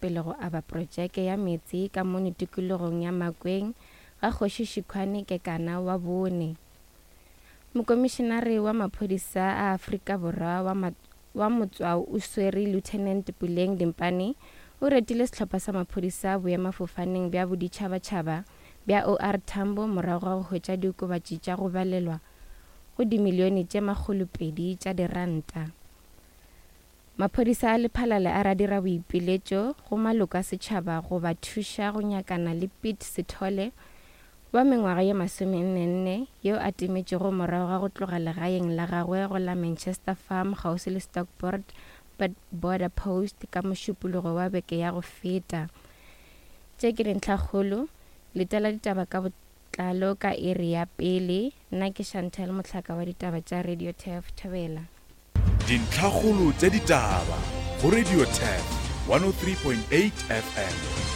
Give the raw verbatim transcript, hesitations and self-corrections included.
pele go aba protšeke ya meetse ka mono tikologong ya Makweng ga Kgoši Šikhwane Kekana wa bone. Mokomišenare wa maphodisa a Afrika Borwa wa, ma, wa motswao o swere Lieutenant Puleng Dimpane o retile sehlopha sa maphodisa boemafofaneng bja boditšhabatšhaba bja O R Tambo morago ga go hwetša diokobatši tša go balelwa go dimilione tše makgolopedi tša diranta. Maphodisa a Lephalale a ra dira boipiletšo go maloko a setšhaba go ba thuša go nyakana le Piet Sithole wa mengwaga ye masomennenne yo a timetšego morago ga go tloga legaeng la gagwe go la Manchester Farm kgauswi le Stockport Border Post ka mošupologo wa beke ya go feta. Tše ke dintlhakgolo, letela ditaba ka botlalo ka iri ya pele. Nna ke Chantel Mohlaka wa ditaba tša Radio Turf Thobela. Dintlhakgolo tša ditaba go Radio Turf one oh three point eight F M.